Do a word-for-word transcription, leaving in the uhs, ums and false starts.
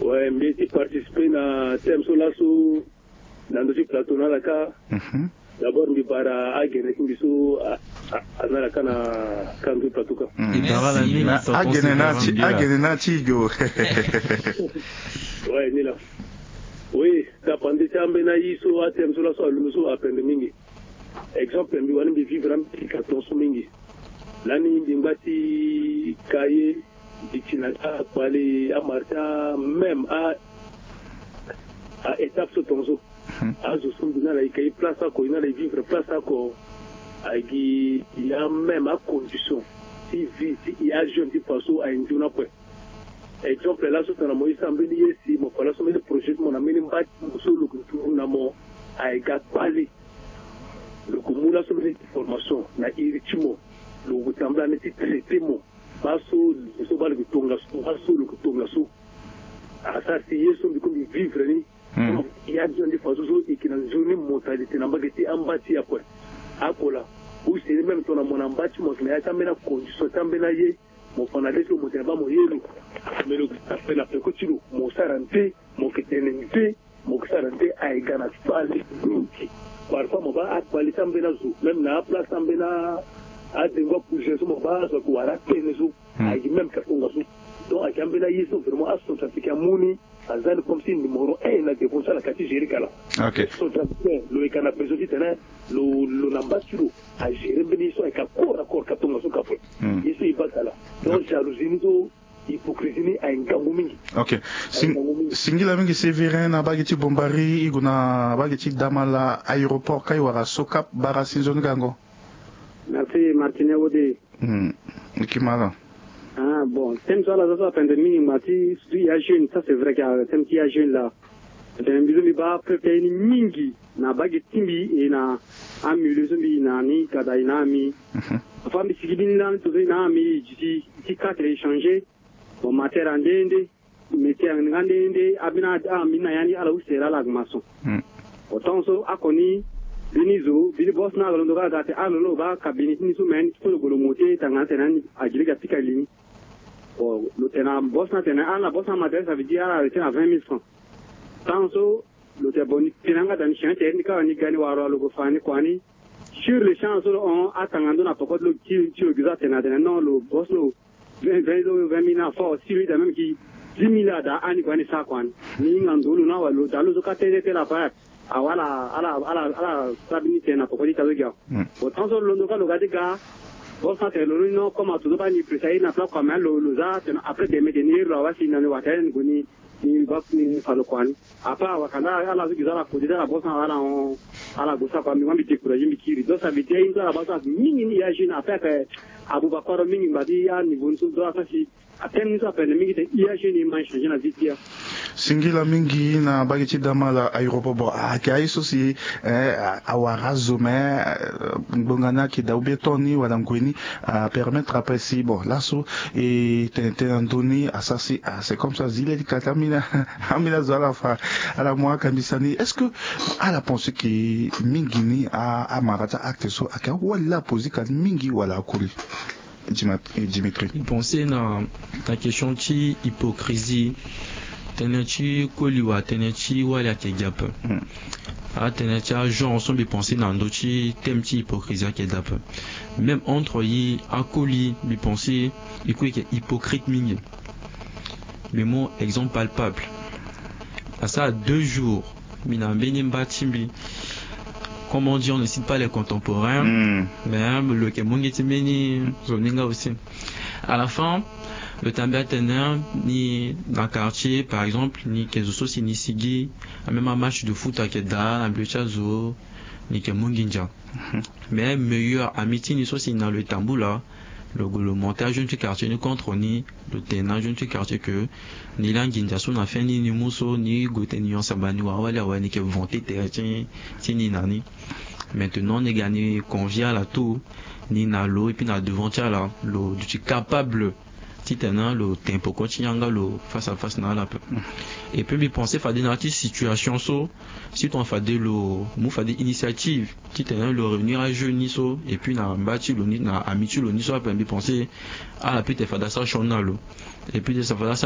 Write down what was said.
Ouais, mbi ye ti participer na thème so laso na ndö ti plateau na ala kâ. Mhm. D'abord mbi bara agene ti mbi so a- a- aza na ala kâ na kâ ndö ti plateau kâ. Mm. Merci. Agene na ti agene na ti go. Ouais, ni laa. Oui, tapande ti ambeni aye so athème so laso alondo so apende mingi. Exemple mbi wani mbi vivre ambeni ka tongaso mingi. Lani mbi ngba ti ka ye, mbi ti na ka kpale amara ti amême a a étape so tongaso. Azo so mbi na ala e ka e place oko, e na ala e vivre place oko. Agi ya même acondition ti vie ti e ajeune ti fa so aye nzoni akue. Exemple laso tongana mo ye sara mbeni ye si mo fa laso mbeni projet ti mo na mbeni mba ti mo so lo ke duru na mo, aye ga kpale. Lo ke mu laso mbeni information na iri ti mo. Lo ke tambula ni ti traiter mo. Baa so, so baa lo ke tongaso, baa so lo ke tongaso. Asara si ye so mbi kue mbi vivre ni. Ya ti andi faso so e yeke na nzoni mentalité na mbage ti amba ti e akue. Akola use ni même tongana mo na mba ti mo ayeke na ya ti ambeni acondition ti ambeni aye. Mo fa na le so mo tene baa mo ye lo. Me lo ape na peko ti lo mo sara nde, mo yeke tene nde, mo yeke sara nde. Aye ga na fale mingi. Parfois mo baa akpale ti ambeni azo même na aplace ti ambeni adengo apousin so mo baa azo ayeke wara atene so. Ayeke même ka tongaso. Donc ayeke ambeni aye so vraiment acentrafricain amu ni. Aza ni comme si numéro un na devant ti ala ka ti gérer ka laa. Centrafricain lo yeke na besoin titene lo lo na mba ti lo agérer mbeni ye so ayeke corps à corps ka tongaso ka ape. Ye so e baa ka laa. Donc jalousie ni so, hypocrisie ni aye ngangu mingi. Ok. Singila mingi Sévérin na bage ti Bombari e gue na bage ti Damala aéroport ka e wara Socap bara si nzoni gango. Merci Martine Wode. Hum. Ikimala. Ah bon, thème so ala za so apende mingi ngba ti surtout ya jeune, ça c'est vrai que thème ti ya jeune laa. Tene mbi so mbi baa peuple ye ni mingi na bage ti mbi e na amilieu so mbi e na ni kada e na ami. Afa mbi sigi ni lani tongaso e na ami e duti ti quatre échanger. Bon matière ande nde. Métier nga nde nde abina ami na ya ni ala use la ala maçon. Bon tant so ako ni bini zo bini boss na alondo ka ga te alo lo ba ka bini tini so men ti kolo golo mote tanga tena ni agiri ga pika lini. Bon lo tena boss na tena ala boss na matériel ça veut dire ala arrêté na vingt mille francs. Tant so lo te bon ni tena nga dani chien te ni ka ni gani waro alo go fani kwani. Sur le champ so lo on atanga ndo na poko lo ti lo giza tena tena non lo boss lo. Vingt vingt mille na fort si lui da même ki dix mille ada ani kwani sa kwani. Ni nga ndulu na wa lo da lo zo ka tene te la pa. Awala ala ala ala sabini tena poko di tazo gya. Bon tant so lo ndo ka lo ga de ga. Bon sa te lo no comme ato zo ba ni presa na pla kwa mais lo lo za tena après de me de ni lo wa si na ni wa tena ni goni. Ni bak ni falo kwani. Apa wakanda ala zo giza ala kodi ala bosa ala on. Ala gosa kwa mi wa mi découragé mi kiri donc ça veut dire une ala basa mingi ni ya jeune après que Aboubacar mingi mbadi ya niveau ni so do asasi. Atem ni so apene mingi te ya jeune ma changé na vie ti ya. Singila mingi na bagi ti dama la aéroport bon ayeke aye so si awara azo me. Ngbonga ni ayeke daa ou bien temps ni wala ngoi ni apermettre ape si bon laso e tene tënë na ndö ni asara si ah c'est comme ça zi leli kata ambeni ambeni azo ala fa ala mu akambisa ni est-ce que ala pense ke mingi ni amara ti acte so ayeke awali la aposer ka mingi wala akoli. Dimitri. Pense na na question ti hypocrisie. Tënë ti koli wala tënë ti wali ayeke gi ape. Atënë ti agenre so mbi pense na ndö ti thème ti hypocrisie ayeke daa ape. Même entre yi akoli mbi pense e kue yeke hypocrite mingi. Mbi mu exemple palpable. Asara deux jours mbi na mbeni mba ti mbi. Comme on dit on ne cite pas les contemporains. Mais lo yeke mu nge ti mbeni zo ni nga aussi. À la fin lo tambi atene ni na quartier par exemple ni yeke zo so si ni sigi. Amême amatch de foot ayeke daa na mbi ti azo. Ni yeke mu nginza. Mais meilleur ami ti ni so si na lo e tambula. Lo gue lo monter ajeune ti quartier ni contre ni. Lo tene na ajeune ti quartier ke ni laa nginza so na fin ni ni mu so ni gue tene ni yonsamba ni wawali awe ni yeke vanter tere ti ni na ni. Maintenant ni ga ni convier ala tout. Ni na lo et puis na devant ti ala lo duti capable titene lo tempo kue ti yanga lo face à face na ala ape. Et puis mbi pense fade na ya ti situation so si tongana fade lo mu fade initiative titene lo réunir ajeune ni so et puis na mba ti lo ni na ami ti lo ni so ape mbi pense ala peut te fade asara sioni na lo. Et puis te sa fade